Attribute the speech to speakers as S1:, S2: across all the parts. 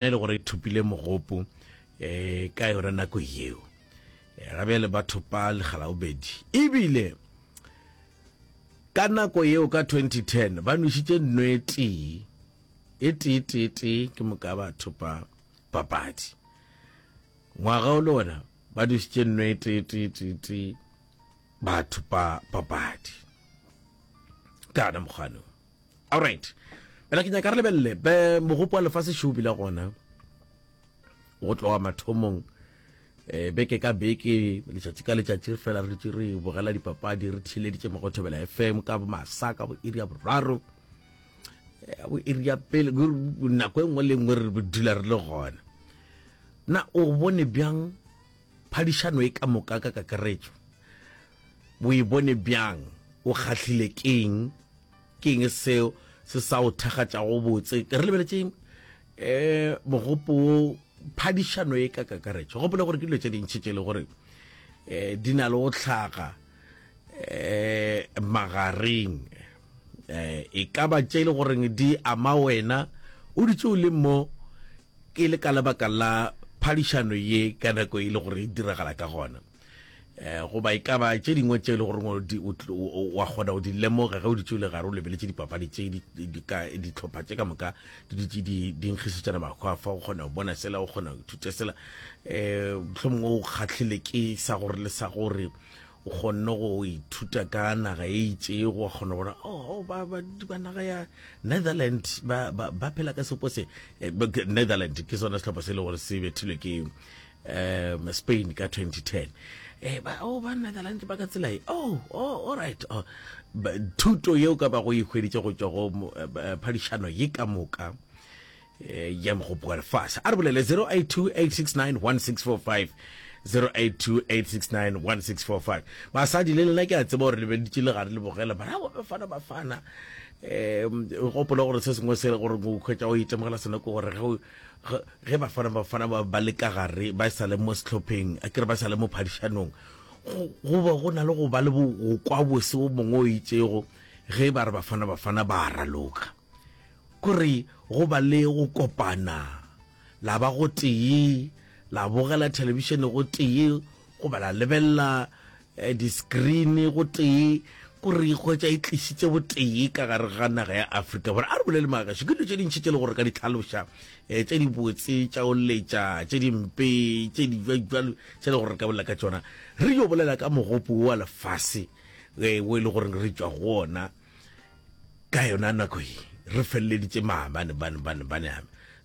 S1: E le gore e thopile mogopo um ka yona nako yeo. Eh, ga bjale ba thopa legalabobedi ebile ka nako yeo ka 2010 ba nwešitše nno e tee e tee tee tee ke moka ba thopa papadi ngwaga o le ona ba nwešitše nno e tee tee tee tee ba thopa papadi ka ona mokgwano Alright. Bjale ke nyaka re lebelele be mogopo wa lefase šo bile gona go tloga mathomong eh, beke ka beke letšatši ka letšatši fela re dutše re bogela dipapadi re theeleditše mo go Thobela FM ka bo masa ka bo iri ya boraro eh, bo iri ya pele nako e nngwe le nngwe re dula re le gona na o bone bjang phadišano e ka moka ka kakaretšo O e bone bjang? O kgahlile ke'ng? Ke'ng seo se sa o thakgatšago botse? Re lebeletše um mogopo wo, phadišano e ka kakaretšo. Gopola gore ke dilo tše dintši tše e le gore um di na le go hlaga um magareng um e ka ba tše e le goreng di ama wena o dutše o le mo ke le ka lebaka la phadišano ye ka nako e le gore e diragala ka gona. Eh, goba e ka ba tše dingwe tše e le goreng wa kgona go di lemoga ge o dutše o le gare o lebeletše dipapadi tše dihlopha tše ka moka di dutše di nkgišetšana makgwafa o kgona go bona sela o kgona go ithuta sela um mohlomongwe o kgahlile ke sa gore le sa gore o kgonne go ithuta ka naga e itšego wa kgona go bona oh, oh, ba, ba, ba naga ya Netherland ba, ba, ba phela ka sepo se eh, Netherland ke sona sehlopha se e le gore se bethilwe ke um Spain ka 2010 eh ba oh ba Netherlands ba ka tsela e oh oh all right oh thuto yeo ka ba go e hweditše go tšwa go eh, eh, phadišano ye ka moka eh, ya mogopo wa lefase a re bolele 0828691645 0828691645 basadi le lena ke a tseba gore le beditše le gare le bogela bara bafana bafana um gopola gore se sengwe se gore o hwetša o itemogela sona ke gore ge Ge Bafana Bafana ba ba le ka gare, ba sa le mo sehlopheng, a ke re ba sa le mo phadišanong, go, go ba go na le go ba le bo, go kwa bose wo mongwe o itšego ge ba re Bafana Bafana ba a raloka. Kore go ba le go kopana, la ba gotee, la bogela thelebišene gotee, goba la lebelela eh, di-screen gotee, kore e hwetša e tlišitše botee ka gare ga naga ya Afrika Borwa. A re bolele magagešu, ke dilo tše dintši tše le gore ka di hlaloša, eh, tše dibotse, tša go letša, tše dimpe, tše di bjalo tše le gore re ka bolela ka tšona. Re yo bolela ka mogopo wo wa lefase eh, wo e le gore re tšwa go ona ka yona nako ye re feleleditše maabane bane bane bane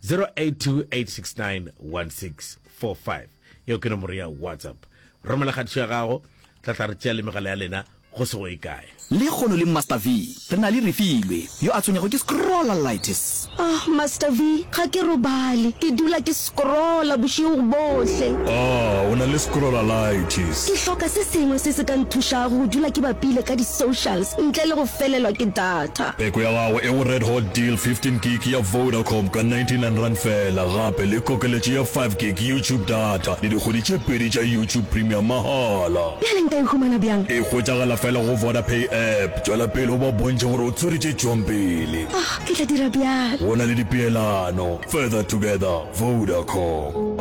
S1: 0828691645 yeo ke nomoro ya whatsapp romela kgatišo ya gago tla tla re tšea le megala ya lena go se go ye kae
S2: Lekgono le Master V re na le Refilwe yo a tshwenyago ke scrollalitis.
S3: Ah, Master V, ga ke robale. Ke dula ke scrolla bošego bohle.
S4: Ah, o na le scrollalitis.
S3: Ke hloka se sengwe se se ka nthušago go dula ke bapile ka di-socials ntle le go felelwa ke data.
S4: Peko ya gago e go Red Hot Deal 15 gig ya Vodacom ka R99 feela, gape le kokeletšo ya 5 gig YouTube data le dikgwedi tše pedi tša YouTube Premium mahala.
S3: Bjale nka e humana bjang?
S4: E hwetšagala feela go Vodapay app. Tšwela pele o ba bontšhe gore o tshwere tše tšwang pele.
S3: Ah, ke tla dira bjalo.
S4: Go na le dipeelano. Further together, Vodacom.